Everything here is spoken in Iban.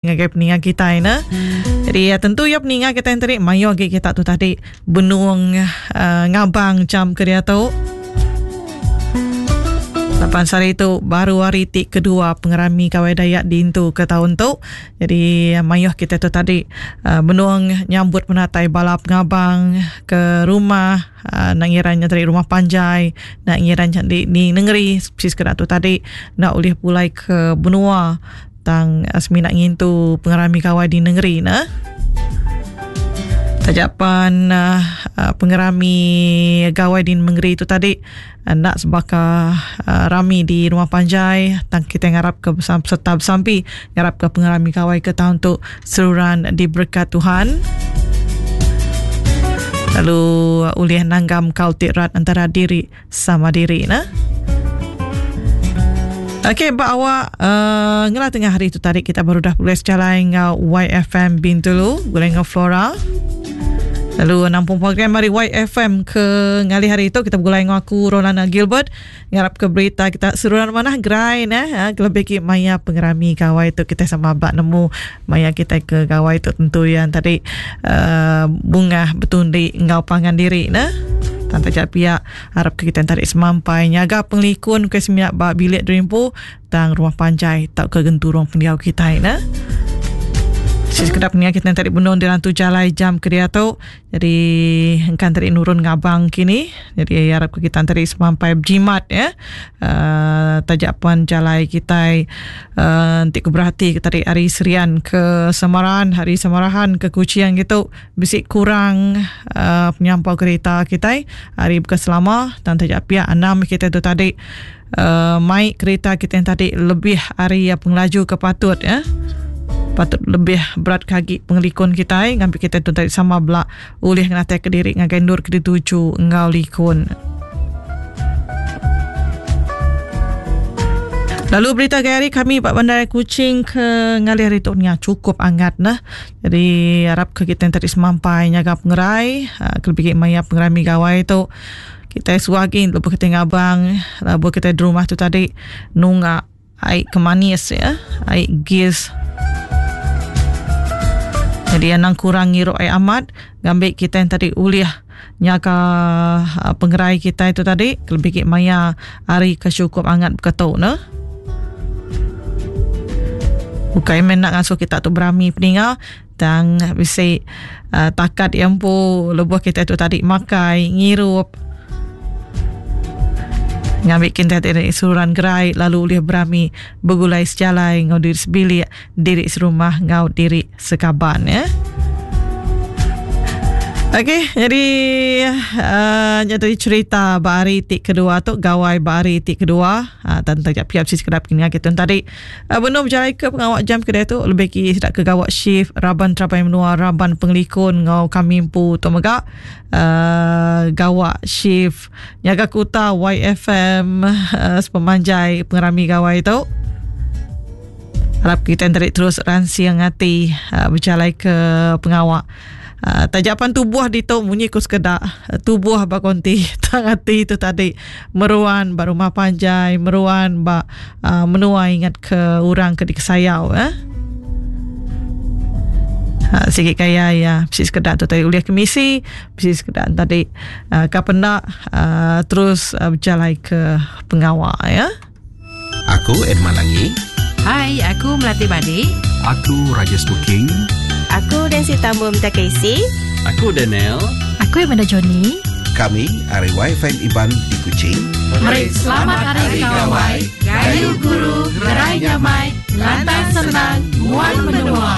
Ngagai peninga kitai ne. Jadi ya, tentu ya peninga kitai tadi mayuh agi kita tu tadi benung uh, ngabang jam ke diatu. Lapan sehari tu baru hari ti kedua pengerami Gawai Dayak diintu ke tahun tu. Jadi mayuh kita tu tadi uh, benung nyambut penatai bala pengabang ke rumah uh, nak ngira nya tadi rumah panjai, nak ngira nya di, di negeri si sekeda tu tadi nak ulih pulai ke benua Tang semina ngintu pengerami gawai di nengeri ne. Taja pan uh, pengerami gawai di nengeri tu tadi enda sebaka uh, rami di rumah panjai tang kita ngarap ke besam, serta besampi ngarap ke pengerami gawai ke tahun tu seruran diberkat Tuhan. Lalu ulih nanggam kaul ti rat antara diri sama diri ne. Okey, ba awak uh, ngelah tengah hari tu tadi kita baru dah pulai sejalai enggau YFM Bintulu, gulai enggau Flora. Lalu nampung program hari YFM ke ngalih hari tu kita begulai enggau aku Rolana Gilbert ngarap ke berita kita seruran manah gerai neh ha, kelebih ki maya pengerami gawai tu kita sama ba nemu maya kita ke gawai tu tentu yang tadi uh, bungah betundi enggau pangan diri neh. Tang taja pia arap ke kita tadi semampai nyaga pengelikun ke semina ba bilik diri empu tang rumah panjai tauka genturung pendiau kitai ne. Sekedar pengingat kita tadi benung di rantu jalai jam ke diatu. Jadi engkan tadi nurun ngabang kini. Jadi harap ke kita tadi semampai berjimat ya. Uh, taja pan jalai kitai uh, enti ku berhati ke tadi ari Serian ke Samarahan, hari Samarahan ke Kuching gitu Bisi kurang uh, penyampau kereta kitai ari buka selama tang taja pia anam kita tu tadi uh, mai kereta kita yang tadi lebih ari pengelaju ke patut ya. Patut lebih berat ke agi pengelikun kitai ngambi kita tu tadi sama bela ulih ngenatai ke diri ngagai endur ke dituju enggau likun. Lalu berita gaya hari kami ba Bandar Kuching ke ngalih hari tu nya cukup angat nah. Jadi arap ke kita tadi semampai nyaga pengerai ah, kelebih agi maya pengerami gawai tu kita suah agi lebuh kita ngabang lebuh kita di rumah tu tadi nunga ai ke manis ya ai gis jadi anang kurang ngirup ai amat ngambi kita yang tadi ulih nyaga ah, pengerai kita itu tadi kelebih agi maya hari ke cukup angat beketu ne. Bukai meh nak ngasuh kita tu berami peninga tang bisi uh, takat iya empu lebuh kita tu tadi makai ngirup ngambi kita tadi seruran gerai lalu ulih berami begulai sejalai enggau diri sebilik diri serumah enggau diri sekaban ya. Okey, jadi uh, nya tadi cerita ba hari ti kedua tu gawai ba hari ti kedua. Uh, tentang jap piap si sekedap kini kita tadi. Uh, benung bejalai ke pengawa jam kedai tu lebih ki sida ke gawa shift raban terabai menua raban pengelikun ngau kami empu tu mega uh, gawa shift nyaga kuta YFM uh, sepemanjai pengerami gawai tu. Harap kita tadi terus ransing ati uh, bejalai ke pengawa. Uh, taja pan tubuh ditu munyi ku sekeda uh, tubuh ba konti tang ati tu tadi meruan ba rumah panjai meruan ba uh, menua ingat ke orang ke dikesayau eh. Ha, sigi kaya ya bisi sekeda tu tadi ulih kemisi bisi sekeda tadi uh, ka penda uh, terus uh, bejalai ke pengawa ya. Aku Edmund Langi. Hai, aku Melati Badi. Aku Rajesh Booking. Aku Nancy Tambum Takesi. Aku Daniel. Aku Amanda Johnny. Kami ari YFM Iban di Kuching. Meri selamat Hari Gawai, Gayu Guru, Gerai Nyamai, Lantang Senang, Nguan Menua.